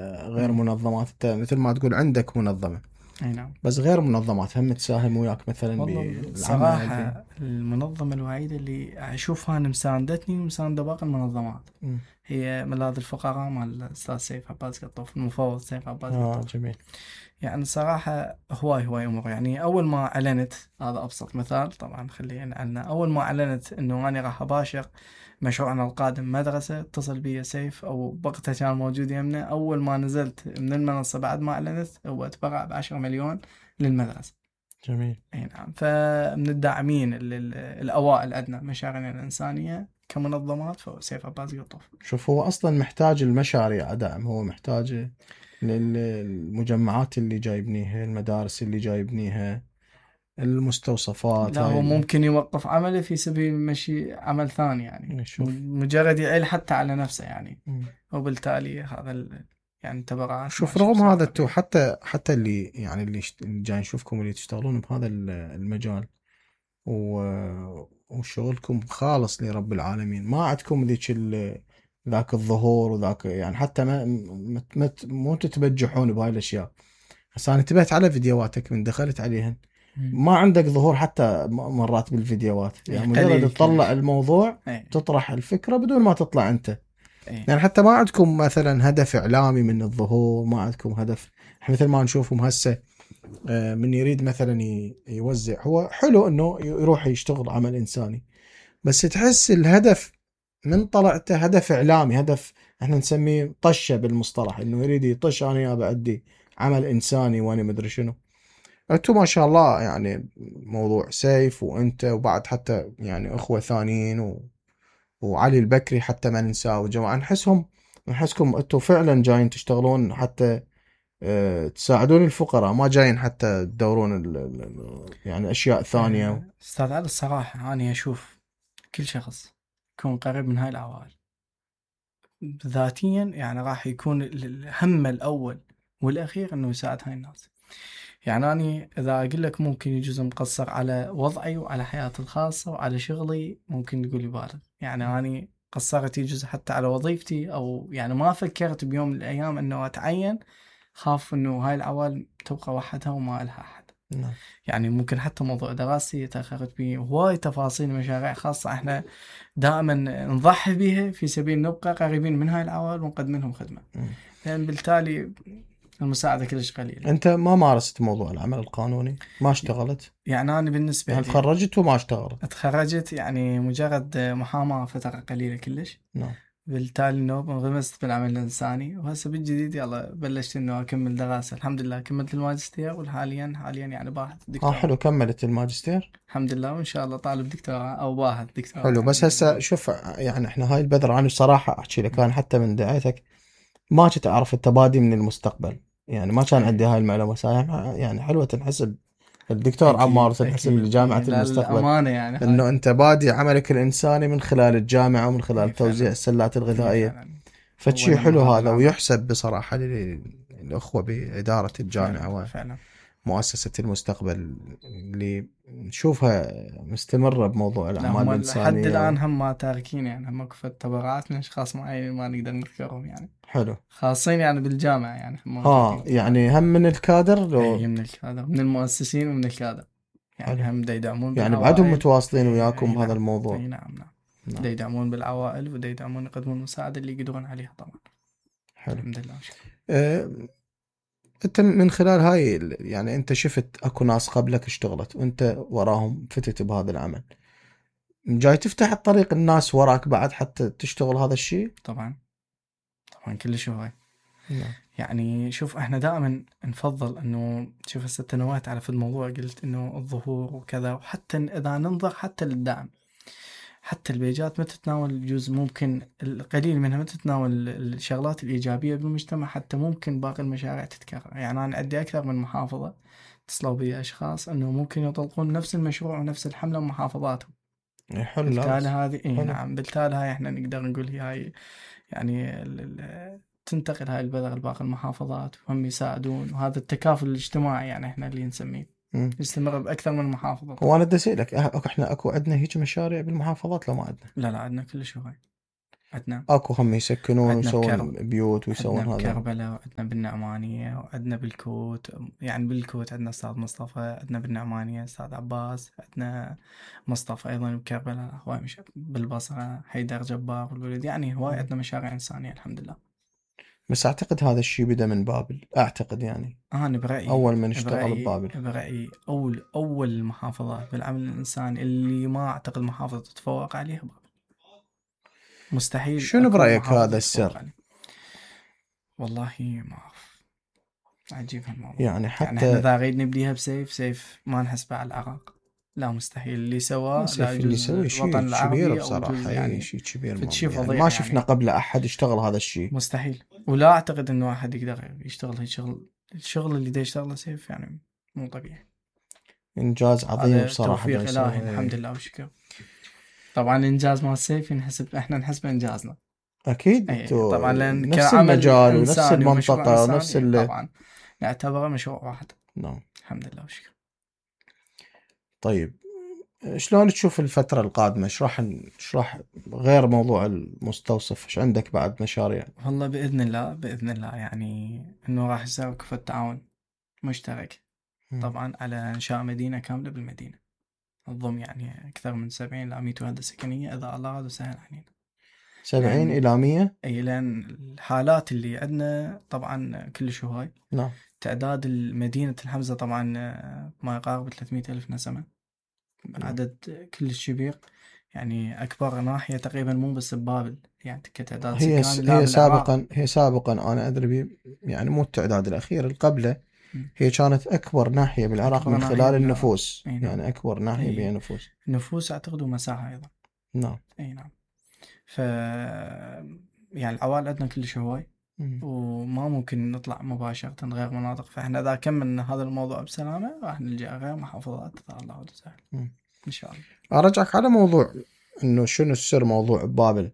غير منظمات، انت مثل ما تقول عندك منظمة، اي نعم. بس غير منظمات هم تساهم وياك مثلا والله بالعمل الصراحة المنظمة الوحيدة اللي أشوفها أن مساندتني ومساندة باقي المنظمات هي ملاذ الفقراء مال الأستاذ سيف عباس قطوف، المفوض سيف عباس قطوف. جميل. يعني صراحة هواي أمور. يعني أول ما أعلنت، هذا أبسط مثال طبعا خلينا نعلنا، أول ما أعلنت إنه أنا راح أباشر مشروعنا القادم مدرسة، اتصل بي سيف أو وقتها كان موجود يمنا. أول ما نزلت من المنصة بعد ما أعلنت هو تبرع ب10 مليون للمدرسة. جميل. اي نعم. فمن الداعمين الأوائل عندنا مشاريعنا الإنسانية كمنظمات فهو سيف عباس قطوف. شوف، هو أصلا محتاج المشاريع دعم، هو محتاج المجمعات اللي جاي يبنيها، المدارس اللي جاي يبنيها، المستوصفات لا هاي هو ممكن يوقف عمله في سبيل مشي عمل ثاني، يعني شوف. مجرد يعيل حتى على نفسه يعني. وبالتالي هذا يعني تبرعات شوف، ماشي رغم هذا بصراحة انتو كبيرة. حتى اللي يعني اللي جاي نشوفكم اللي تشتغلون بهذا المجال وشغلكم خالص لرب العالمين، ما عندكم ذاك الظهور وذاك، يعني حتى مو تتبجحون بهاي الاشياء. هسه انا انتبهت على فيديوهاتك من دخلت عليهن، ما عندك ظهور حتى مرات بالفيديوهات، يعني مجرد تطلع الموضوع تطرح الفكرة بدون ما تطلع انت. يعني حتى ما عندكم مثلا هدف اعلامي من الظهور، ما عندكم هدف مثل ما نشوفهم هسه. من يريد مثلا يوزع، هو حلو انه يروح يشتغل عمل انساني، بس تحس الهدف من طلعته هدف اعلامي، هدف احنا نسميه طشه بالمصطلح، انه يريد يطش انا يا بعدي عمل انساني وانا مدري شنو. انتم ما شاء الله يعني موضوع سيف وانت وبعد حتى يعني اخوه ثانيين وعلي البكري حتى ما ننساه وجماعه، نحسكم انتم فعلا جايين تشتغلون حتى تساعدون الفقراء، ما جايين حتى تدورون يعني اشياء ثانيه. استاذ علي الصراحة أنا أشوف كل شخص يكون قريب من هاي العوائل ذاتيا يعني راح يكون الهم الأول والأخير إنه يساعد هاي الناس. يعني أنا إذا أقول لك ممكن يجوز مقصر على وضعي وعلى حياتي الخاصة وعلى شغلي، ممكن تقول بالغ. يعني أنا قصرت يجوز حتى على وظيفتي، أو يعني ما فكرت بيوم من الأيام إنه أتعين، خاف إنه هاي العوائل تبقى وحدها وما لها أحد. يعني ممكن حتى موضوع دراستي تأخرت به، هواي تفاصيل مشاريع خاصة احنا دائما نضحي بها في سبيل نبقى قريبين من هاي العوائل ونقدم لهم خدمة، لأن بالتالي المساعدة كلش قليلة. انت ما مارست موضوع العمل القانوني؟ ما اشتغلت؟ يعني أنا بالنسبة يعني لي تخرجت وما اشتغلت؟ تخرجت يعني مجرد محاماة فترة قليلة كلش. نعم. بالتالي انه انغمست بالعمل الإنساني، وهسه بالجديد يلا بلشت انه اكمل دراسة. الحمد لله كملت الماجستير، وحاليا يعني باحث دكتوراه. حلو، كملت الماجستير. الحمد لله، وان شاء الله طالب دكتوراه او باحث دكتوراه حلو، يعني بس هسه شوف، يعني احنا هاي البذرة انا بصراحة احكي لك، انا حتى من دعيتك ما كنت اعرف التبادي من المستقبل، يعني ما كان عندي هاي المعلومة. يعني حلوة تنحسب الدكتور عمار، أكيد تنحسب أكيد. لجامعة لا المستقبل، الأمانة يعني انه هاي. انت بادي عملك الانساني من خلال الجامعة ومن خلال توزيع فعلا. السلات الغذائية. فعلا. فشي أولا حلو هذا هذا، العمل. ويحسب بصراحة للأخوة بإدارة فعلا الجامعة فعلا. ومؤسسة المستقبل اللي نشوفها مستمرة بموضوع لا الأعمال هم لحد الإنسانية الآن هم ما تاركين، يعني هم كفة تبرعات من أشخاص معينين ما نقدر نذكرهم يعني، حلو. خاصين يعني بالجامعة يعني هم موجودين يعني هم من الكادر أي من الكادر، من المؤسسين ومن الكادر. حلو، يعني هم دا يدعمون يعني بعدهم بالعوائل. متواصلين أي وياكم بهذا نعم. الموضوع. أي نعم نعم. دا نعم. يدعمون بالعوائل ودا يدعمون يقدمون المساعدة اللي يقدرون عليها طبعا. حلو. الحمد لله وشكرا. أه انت من خلال هاي يعني انت شفت اكو ناس قبلك اشتغلت وانت وراهم فتت بهذا العمل، جاي تفتح الطريق الناس وراك بعد حتى تشتغل هذا الشيء؟ طبعا طبعا كلش هواي. نعم. يعني شوف احنا دائما نفضل انه شوف هسه تنوعت على في الموضوع، قلت انه الظهور وكذا، وحتى اذا ننظر حتى للدعم، حتى البيجات ما تتناول جزء، ممكن القليل منها ما تتناول الشغلات الإيجابية بالمجتمع، حتى ممكن باقي المشاريع تتكرر. يعني أنا عندي أكثر من محافظة اتصلوا بي أشخاص أنه ممكن يطلقون نفس المشروع ونفس الحملة بمحافظاتهم. حلو. لا بالتالي بس هذه حلو. نعم، بالتالي هاي احنا نقدر نقول هاي يعني تنتقل هاي البذرة لباقي المحافظات وهم يساعدون، وهذا التكافل الاجتماعي يعني احنا اللي نسميه يستمر بأكثر من محافظة طبعا. وانا بدي اسالك، احنا اكو عندنا هيك مشاريع بالمحافظات لو ما عندنا؟ لا عندنا كل شيء هاي. عندنا اكو هم يسكنون عندنا ويسوون بيوت ويسوون عندنا هذا. بكربلاء، وعندنا بالنعمانية، وعندنا بالكوت. يعني بالكوت عندنا أستاذ مصطفى، عندنا بالنعمانية أستاذ عباس، عندنا مصطفى أيضا بكربلاء، هواي مش بالبصرة حيدر جبار والولد. يعني هواي عندنا مشاريع إنسانية الحمد لله. بس اعتقد هذا الشيء بدأ من بابل، اعتقد يعني أنا برأيي اول من اشتغل ببابل. برأيي أول المحافظات بالعمل الإنساني اللي ما أعتقد محافظة تتفوق عليها بابل. مستحيل. شنو أكو برأيك محافظة هذا تتفوق السر؟ عليه. والله ما أعرف، عجيب هالموضوع. يعني يعني احنا حتى إذا غير نبديها بسيف ما نحسبه على العراق. لا مستحيل اللي سواه. لا سيف اللي يجوز يسوي شيء الوطن كبير العربي أو بصراحة، يجوز يعني يعني شيء كبير فتشي يعني فظيع ما شفنا يعني. قبل أحد اشتغل هذا الشيء. مستحيل. ولا أعتقد إنه أحد يقدر يشتغل هالشغل. الشغل اللي دا يشتغله سيف يعني مو طبيعي. إنجاز عظيم هذا بصراحة. توفيق دا إلهي يسوي. الحمد لله والشكر. طبعا الإنجاز مال سيف احنا نحسبه إنجازنا. أكيد أي انتو طبعا، لأن نفس كعمل المجال ونفس إنساني ومشروع المنطقة ونفس إنساني طبعا نعتبره مشروع واحد. نعم. الحمد لله والشكر. طيب شلون تشوف الفترة القادمة؟ ايش راح غير موضوع المستوصف، ايش عندك بعد مشاريع؟ والله بإذن الله يعني إنه راح يصير كفة تعاون مشترك طبعا على إنشاء مدينة كاملة بالمدينة، تضم يعني أكثر من 70 إلى 100 وحدة سكنية إذا الله راد وسهل علينا. 70 إلى 100؟ أي لأن الحالات اللي عندنا طبعا كلش هواي. نعم. تعداد المدينة الحمزة طبعا ما يقارب 300 ألف نسمة. عدد كلش كبير يعني. أكبر ناحية تقريبا مو بس ببابل يعني كتعداد سكان. هي سابقا أنا أدري يعني مو التعداد الأخير اللي قبله، هي كانت أكبر ناحية بالعراق من خلال النفوس. يعني أكبر ناحية بها نفوس. نفوس أعتقد ومساحة أيضا. نعم. أي نعم. يعني العوائل عندنا كلش هواي، وما ممكن نطلع مباشرة غير مناطق. فإحنا إذا كملنا هذا الموضوع بسلامة راح نلجأ غير محافظات إذا الله سهل إن شاء الله. أرجعك على موضوع إنه شنو السر موضوع بابل.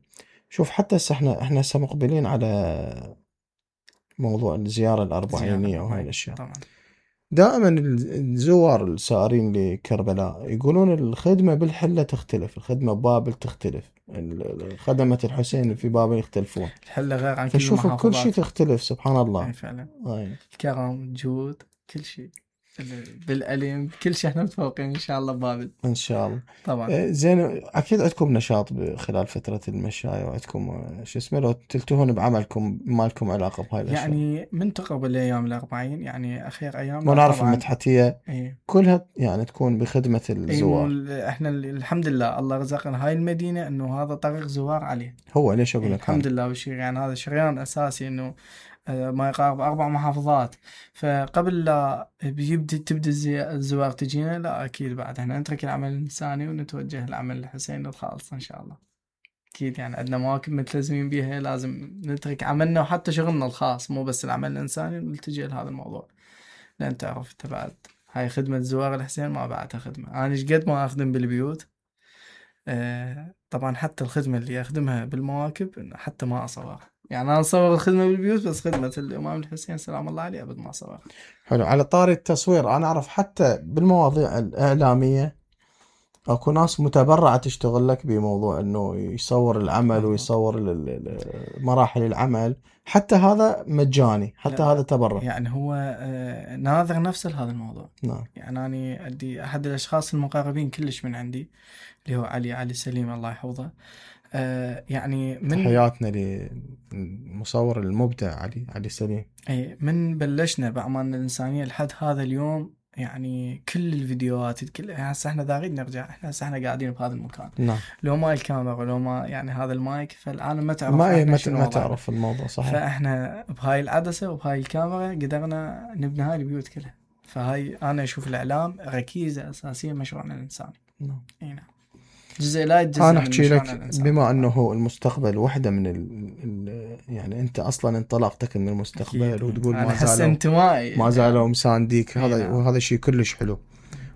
شوف حتى احنا هسه مقبلين على موضوع الزيارة الأربعينية وهاي الأشياء. طبعا. دائما الزوار السائرين لكربلاء يقولون الخدمة بالحلة تختلف، الخدمة ببابل تختلف، خدمة الحسين في بابل يختلفون. الحلة غير عن كل المحافظات. فشوف كل شيء تختلف سبحان الله. أي فعلا. الكرم، جود، كل شيء بالألم، كل شيء احنا متفوقين ان شاء الله ببابل ان شاء الله. طبعا. زين اكيد عندكم نشاط خلال فتره المشاية، وعندكم شو اسمه لو تلتهون بعملكم ما لكم علاقه بهاي الاشياء. يعني من تقرب الايام الأربعين يعني اخير ايام ونعرف المدحتية كلها يعني تكون بخدمه الزوار. احنا الحمد لله الله رزقنا هاي المدينه انه هذا طريق زوار عليه. هو ليش اقول لك الحمد لله والشيء يعني هذا شريان اساسي انه ما يقارب 4 محافظات. فقبل لا تبدأ الزوار تجينا، لا أكيد بعد احنا نترك العمل الإنساني ونتوجه للعمل الحسيني الخالص إن شاء الله. أكيد يعني عندنا مواكب ملتزمين بيها، لازم نترك عملنا وحتى شغلنا الخاص مو بس العمل الإنساني ونلتجئ لهذا الموضوع. لأن تعرف أنت بعد هاي خدمة زوار الحسين ما بعدها خدمة. أنا قد ما أخدم بالبيوت طبعا حتى الخدمة اللي أخدمها بالمواكب حتى ما أصورها. يعني أنا أصور الخدمة بالبيوت بس خدمة الإمام الحسين سلام الله عليه أبد ما أصورها. حلو. على طاري التصوير أنا أعرف حتى بالمواضيع الإعلامية أكو ناس متبرعة تشتغل لك بموضوع إنه يصور العمل ويصور مراحل العمل، حتى هذا مجاني، حتى هذا تبرع. يعني هو ناظر نفسه لهذا الموضوع. نعم. يعني أنا عندي أحد الأشخاص المقربين كلش من عندي اللي هو علي سليم الله يحفظه. يعني من تحياتنا للمصور المبدع علي سليم. أي من بلشنا بأعمالنا الإنسانية لحد هذا اليوم يعني كل الفيديوهات هسه احنا داغين نرجع، احنا قاعدين بهذا المكان. نعم. لو ما الكاميرا ولو ما يعني هذا المايك فالعالم ما تعرف ما تعرف الموضوع صحيح. فاحنا بهاي العدسة وبهاي الكاميرا قدرنا نبني هاي البيوت كلها. فهاي انا اشوف الاعلام ركيزة اساسية مشروعنا الانساني. نعم. اي نعم. جزء لا يتجزأ انا احكي لك بما انه المستقبل وحده من يعني انت اصلا انطلاقتك من المستقبل وتقول ما زالوا مسانديك. هذا شيء كلش حلو.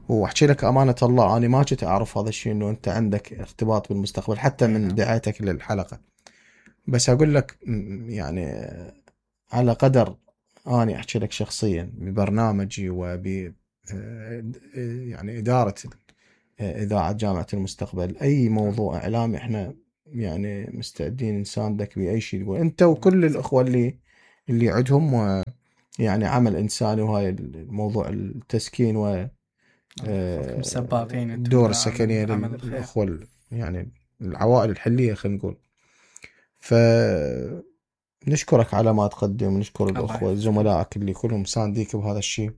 واحكي لك امانه الله انا ما كنت اعرف هذا الشيء انه انت عندك ارتباط بالمستقبل حتى من دعايتك للحلقه. بس اقول لك يعني على قدر اني احكي لك شخصيا ببرنامجي وب يعني اداره إذاعة جامعة المستقبل أي موضوع إعلامي إحنا يعني مستعدين نساندك بأي شيء تقول أنت وكل الأخوة اللي عندهم يعني عمل إنساني، وهاي الموضوع التسكين و سباقين انتم الدور بعمل السكنية الخير. للأخوة يعني العوائل الحلية خلينا نقول. نشكرك على ما تقدم، نشكر الله الأخوة يحفظكم. زملائك اللي كلهم سانديك بهذا الشيء،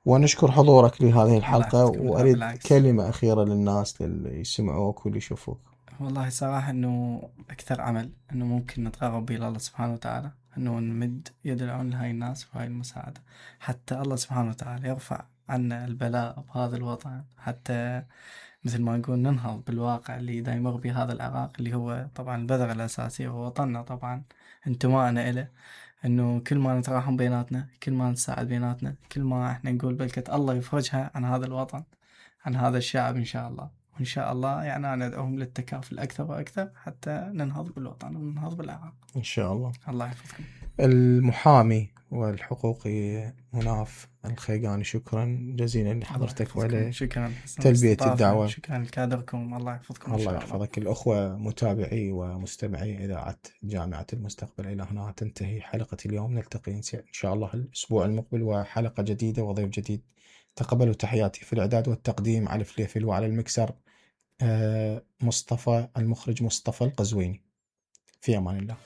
ونشكر حضورك لهذه الحلقة. يحفظكم. لا وأريد بالعكس. كلمة أخيرة للناس اللي يسمعوك واللي يشوفوك. والله صراحة انه اكثر عمل انه ممكن نتقرب به الله سبحانه وتعالى، انه نمد يد العون لهاي الناس وهاي المساعدة، حتى الله سبحانه وتعالى يرفع عنا البلاء بهذا الوطن، حتى مثل ما نقول ننهض بالواقع اللي دا يمر به هذا العراق، اللي هو طبعا البذرة الأساسية ووطننا طبعا انتمائنا إله. انه كل ما نتراحم بيناتنا، كل ما نساعد بيناتنا، كل ما احنا نقول بلكة الله يفرجها عن هذا الوطن، عن هذا الشعب ان شاء الله. وان شاء الله يعني انا ادعوهم للتكافل اكثر واكثر حتى ننهض بالوطن وننهض بالعراق إن شاء الله. الله يحفظكم. المحامي والحقوقي مناف الخيقاني، شكرا جزيلا لحضرتك وعلى شكرا تلبية الدعوة. شكرا لكادركم. الله يحفظكم. الله يحفظك. الأخوة متابعي ومستمعي إذاعة جامعة المستقبل، إلى هنا تنتهي حلقة اليوم. نلتقي إن شاء الله الأسبوع المقبل وحلقة جديدة وضيف جديد. تقبلوا تحياتي. في الإعداد والتقديم على الفليفل، وعلى المكسر مصطفى المخرج مصطفى القزويني. في أمان الله.